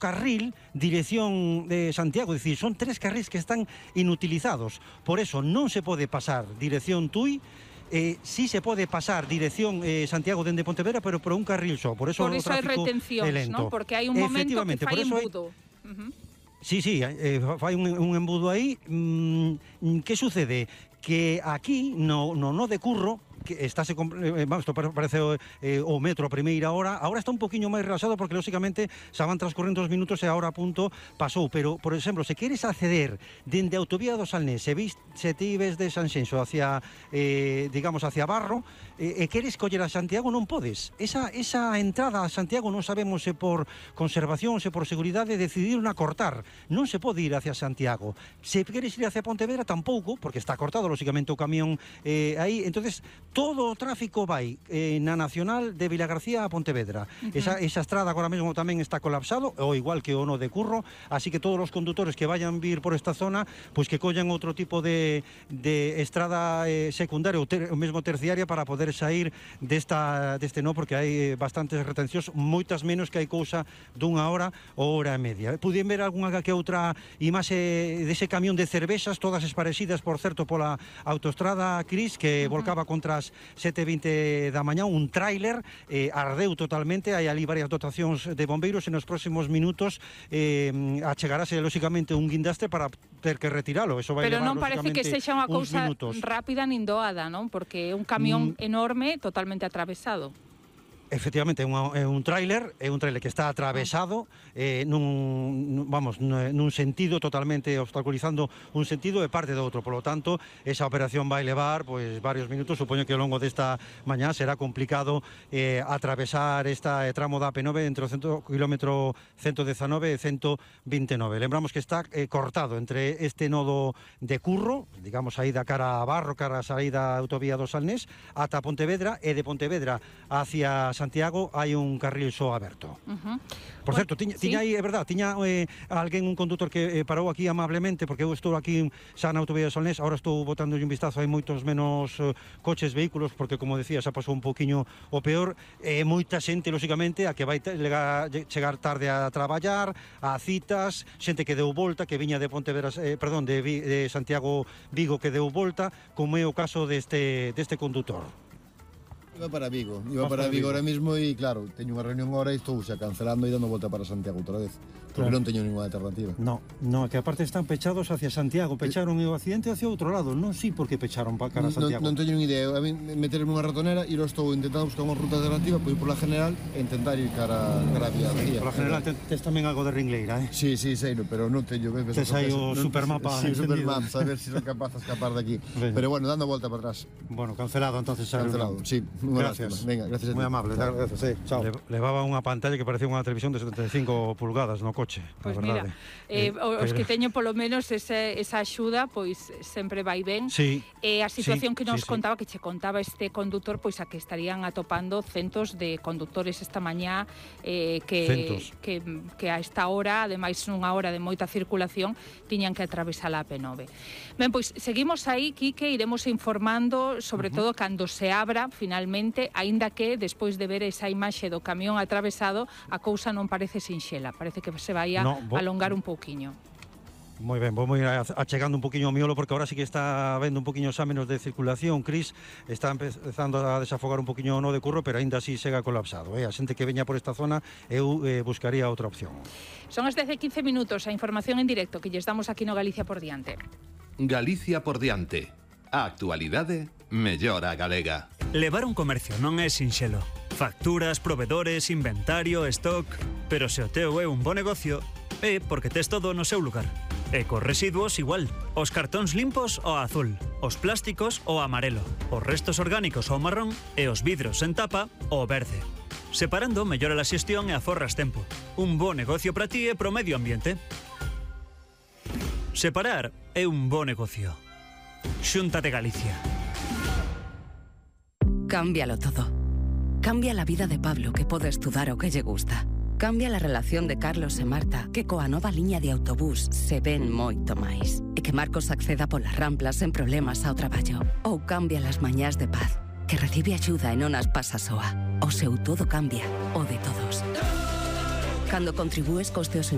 carril dirección de Santiago, es decir, son 3 carriles que están inutilizados, por eso non se pode pasar dirección Tui. Sí se pode pasar dirección Santiago dende Pontevedra, pero por un carril só, por eso o tráfico é lento. ¿no? Porque hai un momento que fai embudo. Sí, fai un embudo aí. Que sucede? Que aquí, no de Curro, que estáse, vamos, isto parece o metro a primeira hora, agora está un poquinho máis relaxado porque, lóxicamente, xa van transcorrendo os minutos e a hora a punto pasou, pero, por exemplo, se queres acceder dende a autovía do Salnés, se ti ves de Sanxenxo hacia, digamos, hacia Barro, e queres coller a Santiago, non podes. Esa entrada a Santiago non sabemos se por conservación, se por seguridade, decidiron a cortar. Non se pode ir hacia Santiago. Se queres ir hacia Pontevedra, tampouco, porque está cortado, lóxicamente, o camión aí. Entonces, todo o tráfico vai na Nacional de Vilagarcía a Pontevedra. Esa estrada agora mesmo tamén está colapsado, ou igual que o no de Curro, así que todos os conductores que vayan vir por esta zona, pois que collan outro tipo de estrada secundaria ou mesmo terciaria para poder sair deste no, porque hai bastantes retencións, moitas menos que hai cousa dunha hora ou hora e media. Pudien ver algunha que outra imaxe dese camión de cervexas, todas esparecidas, por certo, pola autoestrada Cris, que volcaba contra as 7:20 da mañá, un tráiler, ardeu totalmente, hai ali varias dotacións de bombeiros, e nos próximos minutos achegarase, lóxicamente, un guindastre para ter que retiralo. Eso vai pero levar, non parece que sexa unha cousa rápida nin doada, non? Porque é un camión enorme, totalmente atravesado. Efectivamente, é un tráiler que está atravesado nun sentido, totalmente obstaculizando un sentido e parte do outro. Por lo tanto, esa operación vai levar pois varios minutos. Supoño que ao longo desta mañá será complicado atravesar esta tramo da AP9 entre o kilómetro 119 e 129. Lembramos que está cortado entre este nodo de Curro, digamos aí da cara a Barro, cara a saída da autovía do Salnés, ata Pontevedra, e de Pontevedra hacia Santiago hai un carril só aberto. Por certo, tiña aí, é verdad, tiña alguén, un condutor que parou aquí amablemente, porque eu estou aquí xa na autovía de Solnés, agora estou botando un vistazo, hai moitos menos coches, vehículos, porque, como decía, xa pasou un poquinho o peor, moita xente, lóxicamente, a que vai chegar tarde a traballar, a citas, xente que deu volta, que viña de Pontevedra, perdón, de Santiago Vigo, que deu volta, como é o caso deste condutor. Iba para Vigo ahora mismo e, claro, teño unha reunión agora e estou xa cancelando e dando volta para Santiago outra vez, porque non teño ninguna alternativa. No, que aparte están pechados hacia Santiago, pecharon o accidente hacia outro lado, non sei por que pecharon para cara a Santiago. Non teño ni idea, a mí meterme unha ratonera e lo estou intentando buscar unha ruta alternativa, pois por la general e intentar ir cara a vía. Por la general tes tamén algo de ringleira, Sí, sei, pero non teño que... Tes aí o supermapa. Sí, supermapa, a ver se son capaz de escapar de aquí. Pero bueno, dando volta para atrás. Bueno, cancelado entonces. Cancelado, sí. Gracias. Venga, gracias a ti. Moi amable, gracias, chao. Levaba unha pantalla que parecía unha televisión de 75 pulgadas no coche. Pois mira, os que teño polo menos esa axuda, pois sempre vai ben. Sí. A situación que nos contaba, que che contaba este condutor, pois a que estarían atopando centos de conductores esta mañá que a esta hora, ademais nunha hora de moita circulación, tiñan que atravesar a AP9. Ben, pois seguimos aí, Quique, iremos informando, sobre todo cando se abra finalmente, aínda que despois de ver esa imaxe do camión atravesado, a cousa non parece sinxela, parece que se vai a alongar un pouquiño. Moi ben, vou ir achegando un poquinho o miolo, porque agora sí que está habendo un poquinho xa menos de circulación. Cris está empezando a desafogar un poquinho o no de Curro, pero aínda así chega colapsado. A xente que veña por esta zona, eu buscaría outra opción. Son as 10:15 minutos, a información en directo que lles damos aquí no Galicia por diante. Galicia por diante. A actualidade mellor a galega. Levar un comercio non é sinxelo. Facturas, provedores, inventario, stock... Pero se o teu é un bo negocio, é porque tes todo no seu lugar. E cos residuos igual. Os cartóns limpos ao azul, os plásticos ao amarelo, os restos orgánicos ao marrón e os vidros en tapa ao verde. Separando mellora a xestión e aforras tempo. Un bo negocio para ti e pro medio ambiente. Separar é un bo negocio. Xunta de Galicia. Cámbialo todo. Cambia la vida de Pablo, que pode estudar o que lle gusta. Cambia la relación de Carlos e Marta, que coa nova liña de autobús se ven moito máis. E que Marcos acceda polas ramplas sen problemas ao traballo. Ou cambia las mañás de Paz, que recibe axuda e non as pasa soa. O seu todo cambia, o de todos. Cando contribúes cos teus